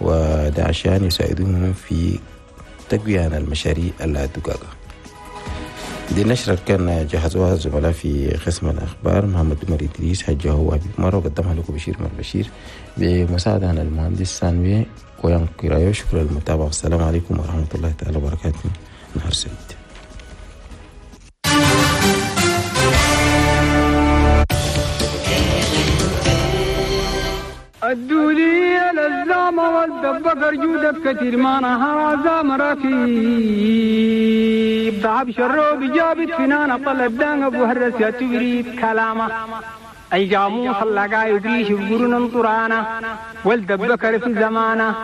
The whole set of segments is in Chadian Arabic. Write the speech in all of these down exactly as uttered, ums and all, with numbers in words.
وده عشان يساعدوهم في تقوية المشاريع الدقاقة. دي النشرة كان جهزوها الزملاء في قسم الأخبار محمد عمر إدريس حجه هو مرة، وقدمها لكم بشير مر بشير بمساعدة المهندس سانوي ويان كرايو. شكرا للمتابعة والسلام عليكم ورحمة الله تعالى وبركاته. نهار سعيد. الدولية للزامة والدبقر جودك كتير ما نهار زام ركيب ضعب شروب جابت فنانة طلب دان أبو هرس يا تبريد كلامه أي جاموس اللقا يدريش بقرن طرانا والدبكر في زمانه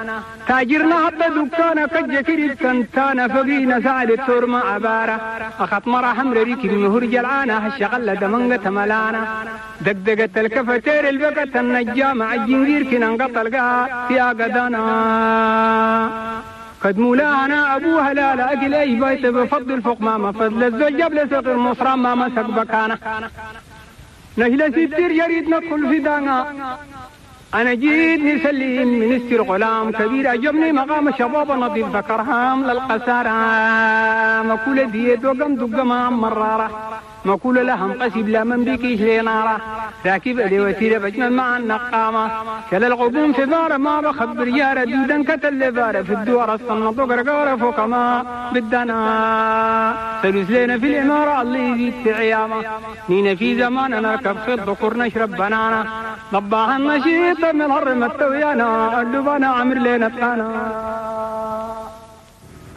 تاجرنا حتى دكانا كجكري كنتانا فقينا سعد التور ما عبارة أخط مرة حمر ريكي مهر جلعانة هالشغلة دمنقة ملانا دقدقة الكفتير البقة النجامة عالجنجير كنا انقطع القاء في أقدانا قد مولانا أبوها لا لا أكل أي بيت بفضل فوق ما ما فضل الزوج جاب لسوق المصرى ما مسك بكانا نهلا ستير يريد ندخل في دانا أنا جيت نسلم منستر غلام كبير عجبني مقام شباب نظيف ذكرهام للقسارة مكولة ديت وقم دقما مرارة مكولة لهم قسب لا من بكيش لنارة راكب لي وسيلة بجمل مع النقامة كلا الغبوم في بارة ما بخبر يارة دودا كتل بارة في الدوار الصنط وقرقارة فوق ما بدنا سلوس لنا في الإمارة الله يزيد في عيامة نينا في زمان نركب خيط ذكر نشرب بنانا ضباها النشيط من الهرم التويانا اللبانا عمر لنا تانا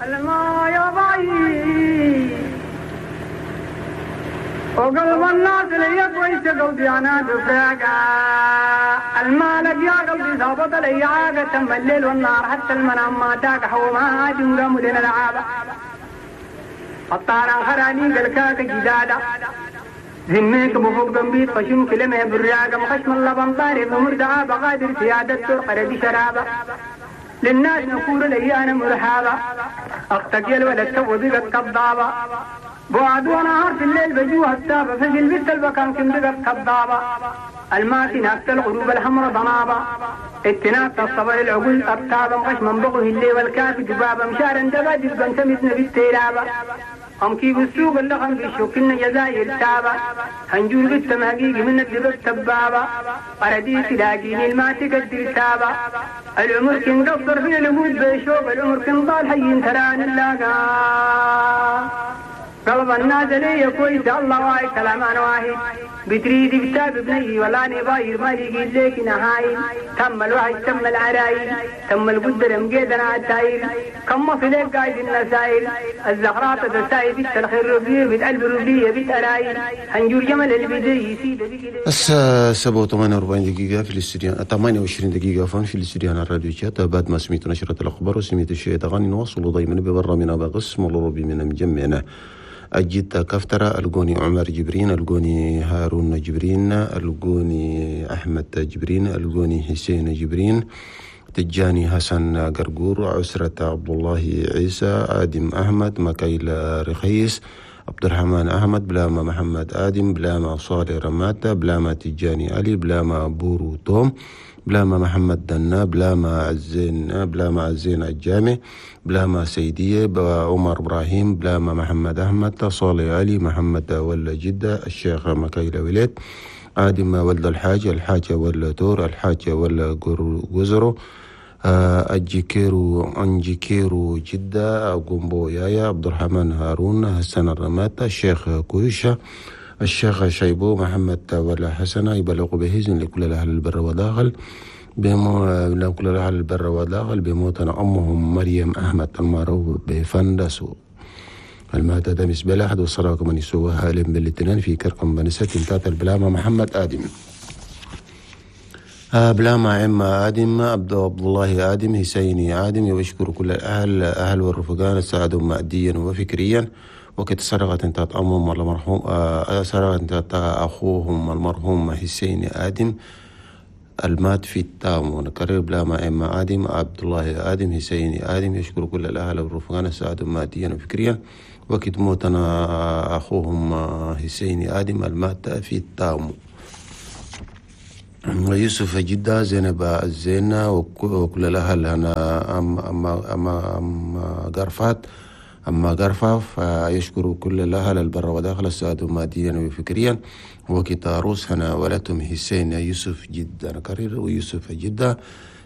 الما يا ضعيف وقلب الناس لي كويس قلبي انا دفاقة المالك يا قلبي ظابط لي عاقة تم الليل والنهار حتى المنام ما تاقح وما جنقم لنا العابة الطارة خراني قلكاك جدادة ذميك بفوق ذنبيت خشم كلمة براقة مخشم اللبن طاري بمردعة بقادر سيادة ترقر بشرابة للناس نقول لي أنا مرحابة أختك يا الولد تو بقت كضابة بعد ونهار في الليل بجوها التابة فجل بنت البكان كم بقت كضابة الماسي ناكت الغروب الحمر ضنابة اتناكت الصبر العقول أبتابة مخشم بغه الليل والكافي دبابة مشارا دبا دبا سمتنا بالتيلابة أم كيف السوق اللغم في شوكنا جزائر تابة هنجور قدام حقيقي من الدباب تبابة أرديت لاقيني الما تقدر تابة العمر كن قصر في الوجود بشوق العمر كن ضال حي تران اللاقا قلب الناس لي كويس الله واي كلام انا واحد بتريد كتاب بني ولا نباير ما لقيت لك نهاي تم الوحي تم العرايل تم القدر مقيدنا عالتايل كم في لك قايد النسايل الزهرات تساي بيت الخير ربيه بيت قلب ربيه بيت ارايل هنجور جمل البدي سيد. الساعة سبعة وثمانية وأربعين دقيقة في الاستوديو، ثمانية وعشرين دقيقة عفوا في الاستوديو على الراديو شات. بعد ما سميت نشرة الأخبار وسميت الشيء تغني نواصل دايما ببرنامجنا بقسم الربي من مجمعنا أجيت كفترة القوني عمر جبرين، القوني هارون جبرين، القوني أحمد جبرين، القوني حسين جبرين، تجاني حسن قرقور، عسرة عبد الله عيسى، آدم أحمد، مكايل رخيص، عبد الرحمن أحمد، بلاما محمد آدم، بلاما صالح رماتة، بلاما تجاني علي، بلاما بورو توم، بلاما محمد دنا، بلاما عزين، بلاما عزين الجامع، بلاما سيدية، عمر إبراهيم، بلاما محمد أحمد، صالح علي، محمد ولا جدة، الشيخ مكايل وليد، آدم ولد الحاج، الحاجة ولا تور، الحاجة ولا جزرو، أجيكيرو أنجيكيرو جدة، قومبو يايا، عبد الرحمن هارون، حسن الرماتة، الشيخ كويشة، الشيخ شيبو، محمد ولا حسنة. يبلغ بهزن لكل الأهل البر وداخل بمو لكل الأهل البر وداخل بموتنا أمهم مريم أحمد المعروف بفندسو الماتة دمس بلاحد والصلاة كمان يسوها لم بالاثنين في كركم بنسة تاتا البلامة محمد آدم بلاما عم آدم عبد الله آدم حسيني آدم. ويشكر كل الأهل أهل والرفقان ساعدوا ماديا وفكريا. وقت سرقت انتهت أمهم المرحوم سرقت انتهت أخوهم المرحوم حسين آدم المات في التام. ونكرر بلاما إما آدم عبد الله آدم حسين آدم. يشكر كل الأهل والرفقان ساعدوا ماديا وفكريا. وقت موتنا أخوهم حسين آدم المات في التام. يوسف جدة، زينب الزينة، وكل الأهل هنا أم أم أم أم قرفات أما قرفاف. يشكر كل الأهل البر وداخل السعادة ماديا وفكريا. وكتاروس هنا ولدتهم حسين يوسف جدة نكرر ويوسف جدة،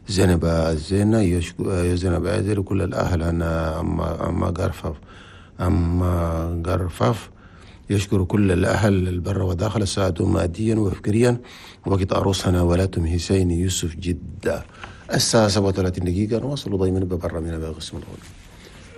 زينب الزينة، يشكر زينب عزير، كل الأهل هنا أما أما قرفاف أما قرفاف. يشكر كل الأهل البر وداخل السعادة ماديا وفكريا. وقت أروسنا ولاتم حسين يوسف جدة. الساعة سبعة وثلاثين دقيقة نواصل دائما ببرنامجنا بقسم الغنى.